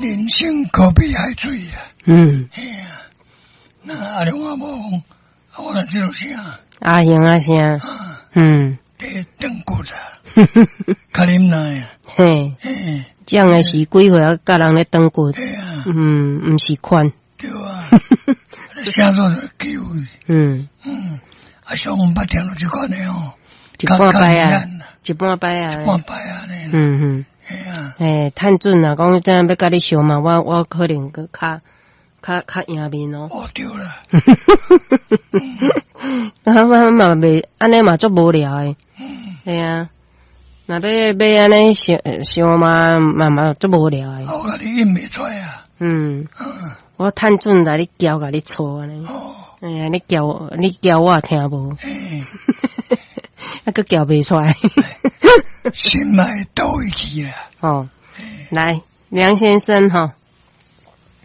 人生可比海水啊。嘿啊，那阿龍阿某講，啊，我若這個聲，阿雄啊聲，佇斷骨啊，較忍耐啊。這樣的時幾歲啊？佮人咧斷骨，毋是勸。對啊，聲做就機會。啊，上毋捌聽著這款的哦。一半擺啊，一半擺啊，一半擺啊，嘿啊。趁準啊，講這樣欲佮你相罵，我可能閣較贏面哦。哦，對啦。啊，我嘛袂按呢嘛足無聊的。嘿啊，若欲按呢相相罵嘛足無聊的。我共你應袂出來啊。我趁準來你叫共你吵按呢。哎呀，你叫我聽無？啊，閣叫袂出來。心內倒位去啦。哦，來，梁先生哈。